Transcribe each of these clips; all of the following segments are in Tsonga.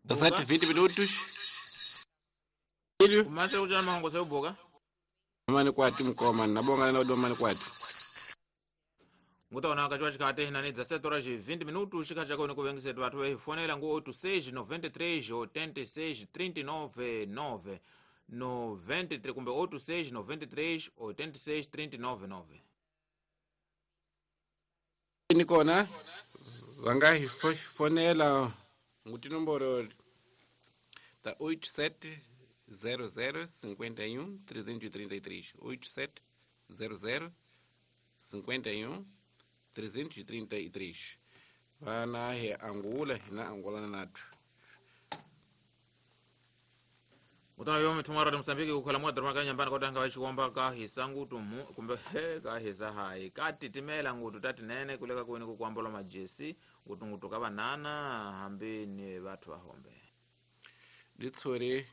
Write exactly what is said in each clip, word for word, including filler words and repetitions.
Sete vinte minutos. Filho. Kumase ujana mahongo seu boga. Mani kwati mkoma na bonga na odoma kwati. Nguta ona kachwa chikate hinani dezessete horas e vinte minutos chika chako ni kuvengisetu watu wehi fonela ngu oito seis noventa e três oitenta e seis trinta e nove nove noventa e três kumbe oito seis noventa e três oitenta e seis trinta e nove nove. Nikona vanga hi fonela nguti nomboro ta oito sete zero zero cinquenta e um trezentos e trinta e três oito sete zero zero cinquenta e um trezentos e trinta e três. Vana he Angola na Angola nato. Utana yomi tumara de Mozambique ukhala mwa drama kanya mbana kodanga wachikomba ka hisangu tumu kumbe he ka hisa hai kati timela ngutu tati nene kuleka kuweni kukwambola majesi ngutu ngutu ka banana hambi ni watu wahombe. Ditsore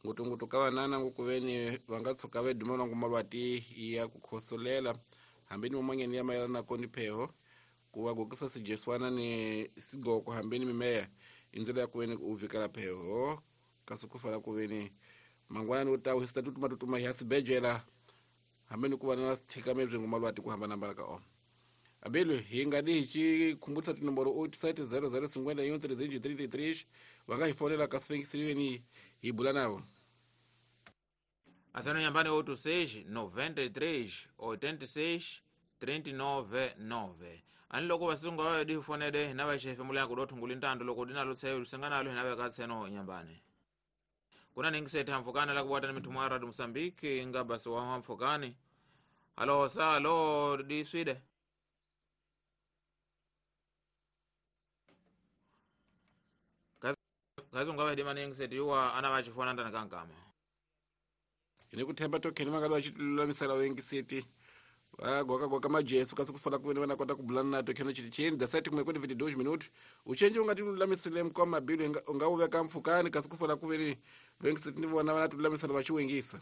ngutu ngutu ka banana ngukuveni vangatsoka veduma na ngumalwati ya kukhosolela hambeni mumangeni ya mayelana koni pheho kuwa gokisa sijeswana ni sigoko hambeni mimeya inzela ya kuweni uvikala pheho kasukufala kuveni mangwana utawu hisitatu matutuma yasibejela hambeni kuva na sithika mebzingo malwati kuhamba nambala ka o abelu hingadi hichi kumbutsa tinomboro oito sete zero zero cinquenta e um trezentos e trinta e três vangahifonela kasifengisiriweni hibula navo. Asano nyambani oito seis noventa e três oitenta e seis trinta e nove nove. Ani loko vasunga vayo di fonede na vaxefe mulenga ku dothunguli ntando loko dinalo tseyo lusenganalo hina veka tseno nyambani. Kuna ningisete hamfukani la kuwata ni mitumu ya Radio Mozambique nga basi wa hamfukani. Halo sa halo di swide. Kazi ungawa hidima ningisete yuwa ana vachifona ndani kankama. Ini kuthemba tokheni vakali vachilulamisela wengiseti. Goka goka majesu kasi kufala kuveni vanakota kubulana nato kheno chiti cheni dezessete kumwe kwenda vinte e dois minutos uchenji ungatilulamisile mkoma bilu ungawuveka mfukani kasi kufala kuveni wengiseti ni vona vanatululamisela vachiwengisa.